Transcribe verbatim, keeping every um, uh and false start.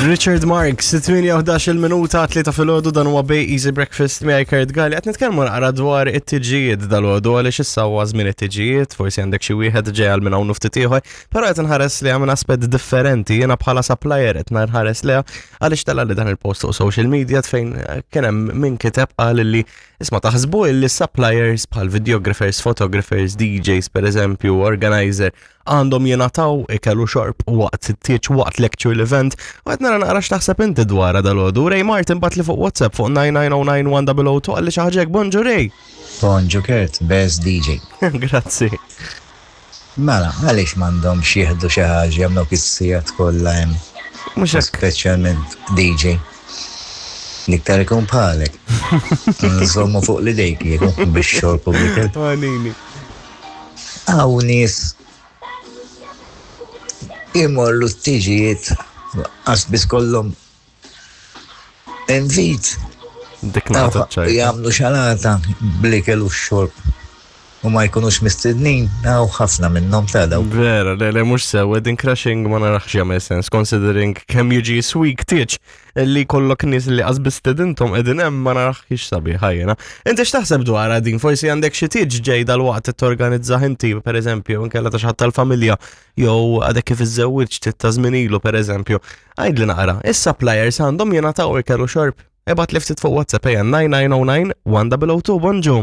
Richard Marx, tmienja u ħdax-il minuta tlieta filgħodu, dan huwa Bay Easy Breakfast miegħi Kurt Galli. Qed nitkellmu naqra dwar it-tiġijiet dalgħodu għaliex issa huwa żmien it-tiġijiet, forsi għandek xi wieħed ġej għal minn hawn ftit ieħor, però qed nħares li minn aspett differenti. Jiena bħala supplier qed nħares li għaliex tella li dan il-post fuq social media fejn kien hemm min kiteb, qal li isma', taħsbu li suppliers bħal videographers, photographers, D Js per eżempju, organizer, għandhom jingħataw ikel u xorb waqt it-tieġ, waqt l-actual event? U qed nara naqra x'taħseb inti dwar dalgħodu. Ray Martin bagħatli fuq WhatsApp fuq nine nine zero nine one zero zero two, qalli xi ħaġa hekk. Bonġu, Ray. Bonġu Kurt, best D J. Grazzi. Mela, għaliex m'għandhomx jieħdu xi ħaġa, jagħmlu kissijat kollha hemm? Mhux hekk. Speċjalment D J. L-iktar ikun bħalek. Nżommu fuq l-idejk jieku biex xorb u bl-ikel. Għanini. Hawn nies imorru t-tiġijiet għax biss kollhom invit. Dik naqta ċajta. Jagħmlu xalata bl-ikel u x-xorb u ma jkunux mistednin, hawn ħafna minnhom ta' daw. Vera, le, le, mhux sew, wedding crashing ma narax jagħmel sens, considering kemm jiġi sweek tieġ li kollok nies li qas biss stedinthom qegħdin hemm, ma narax sabiħa jiena. Inti x'taħseb dwar din? Forsi għandek xi tieġ ġej dal-waqt torganizza inti, per eżempju, inkella ta' xi ħadd tal-familja, jew għadek kif iżżewwiġt ta' żmien ilu, per eżempju. Għidli naqra, is-suppliers għandhom jingħataw ikel u xorb? Ibgħatli ftit fuq WhatsApp, ejja, nine nine zero nine one zero zero two. Bonġu.